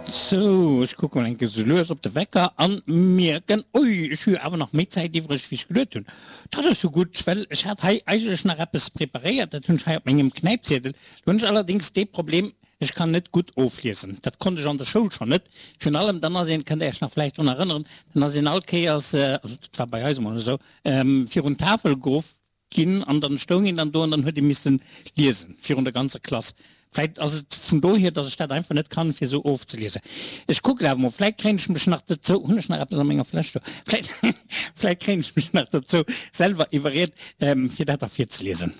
Sou, ech kucke mol eng Kéier sou lues op de Wecker an mierken, ui, ech hu jo awer nach méi Zäit iwwreg wéi ech geduet hunn. Dat ass jo gutt, well ech hat hei eigentlech nach eppes preparéiert, dat hunn ech hei op mengem Knäipziedel. Lo hunn ech allerdéngs dee Problem, ech kann net gutt ofliesen. Dat konnt ech an der Schoul schonn net. Virun allem dann ass een, kënnt Där Iech nach vläicht drun erënneren, dann ass een all Kéiers, also dat war bei eis emol esou, virun d'Tafel geruff Ginn an dann stoung een dann do an dann huet ee missen liesen virun der ganzer Klass. Vläit ass et vun dohier, dass ech dat einfach net kann, fir esou ofzeliesen. Ech kucken awer mol, vläit kréien ech mech nach dozou, hunn ech nach eppes a menger Fläsch do? Vläit, vläit kréien ech mech nach dozou selwer iwwerriet, fir dat da virzeliesen.